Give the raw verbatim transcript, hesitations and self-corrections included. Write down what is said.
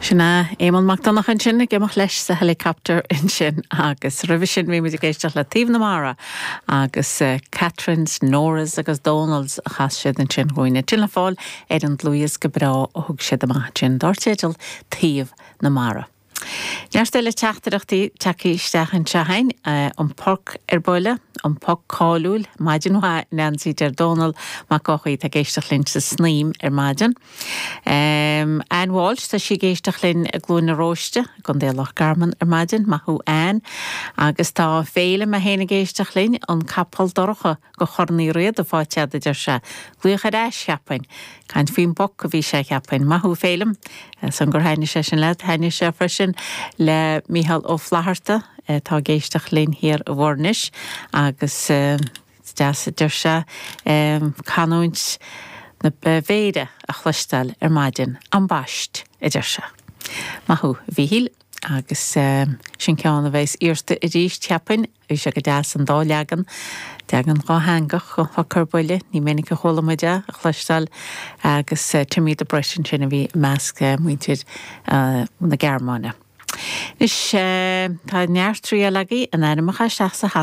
Sin é Éamonn Mac Donncha ansin ag imeacht leis sa helicopter ansin agus roimhe sin bhí muid ag éisteacht le Taobh na Mara agus uh, Catherine's, Nora's agus Donald's a chas siad ansin chugainn sin le fáil ar an dlúthdhiosca breá a thug siad amach sin dar teideal Taobh na Mara. Neart eile teachtaireachtaí tagtha isteach anseo againn an poc ar buile, an poc cáiliúil, maidin mhaith Nancy deir Dónal Mac Eochaidh ag éisteacht linn sa Snaidhm ar maidin. Um, Ann Walsh tá sí ag éisteacht linn i gCluain na Róiste, gContae Loch Garman ar maidin, maith thú Ann, agus tá Féilim féin ag éisteacht linn an capall dorcha go Chorn Uí Riada fáite a deir sé. Glaoch ar ais cheapfainn, Caint faoin bpoc a bhí sé cheapfainn maith thú Féilim, san gur thaitnigh sé sin leat thaitnigh sé freisin le Mícheál Ó Flatharta tá ag éisteacht linn thiar i bhFoirnis agus deas deir sé canúint na Baivéire a chloisteáil ar maidin ambaist a deir sé. Maith thú Mhíchíl agus sin ceann a bheas iarrta arís cheapfainn, bhí sé go deas an dá leagan, leagan dátheangach an poc ar buile, ní minic a chuala muid é a chloisteáil agus Timmy the Brit sin a bhí measc muintir na Gearmáine. Is tá neart triail agaibh in ainmneacha isteach sa